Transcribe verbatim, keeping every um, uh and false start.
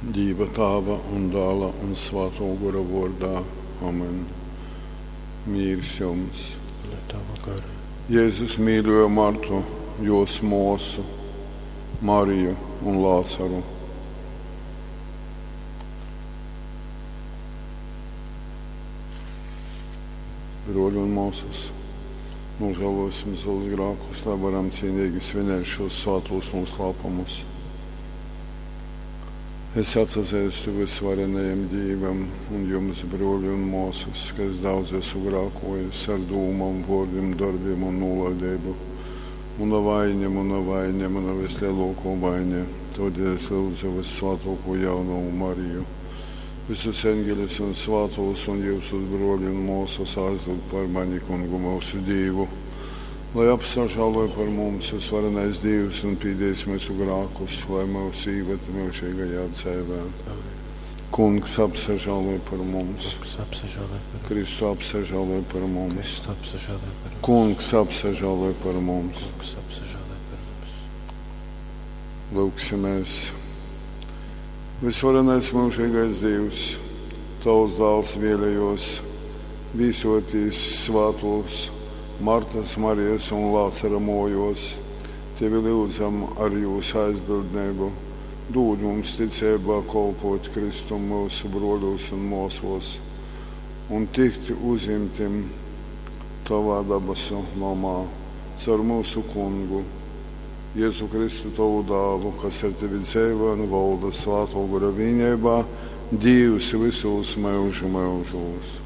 Dīva Tāva un Dāla un Svātō Gora vōrdā. Amen. Mīrs jums. Un ar tavu garu. Jēzus mīļoja Martu, jos mūsu, Mariju un Lācaru. Broļi un māsas, nožēlosim savus grēkus, lai varam cienīgi svinēt šos svētos noslēpumus. Es atsazīstu visvarenajam Dievam un jums, broļi un māsas, ka es daudz esmu grēkojis ar dūmām, vārdiem, darbiem un nolaidību. Mana vaina, mana vaina, mana vislielākā vaina. Tādēļ es lūdzu vissvētāko jaunavu Mariju, visus eņģeļus un svētos un jūsus broļi un māsas aizlūgt par mani kungu mūsu Dievu. Lai apsažāloja par mums visvarenais Dievs un pīdīs mūsu grēkus, lai mūs ieved mūžīgajā dzīvē. Amen. Kungs apsažāloja par mums, Kungs apsažāloj par mums. Kristu apsažāloja par mums, Kristu apsažāloj par mums. Kungs apsažāloja par mums. Kungs apsažāloj par mums. Lūksimies. Visvarenais mūžīgais Dievs, Tavs dēls vēlējos vīsotīs svētos Martas, Marijas un Lācara mojos. Tevi lūdzam ar jūsu aizbildnību. Dod mums ticībā kolpot Kristum mūsu broļos un māsos un tikt uzimtim Tavā dabasu nomā caur mūsu kungu. Jēzu Kristu tavu dēlu, kas ar tevi dzīvo un valda Svēto Gara vienībā, Dievs visos mūžu mūžos.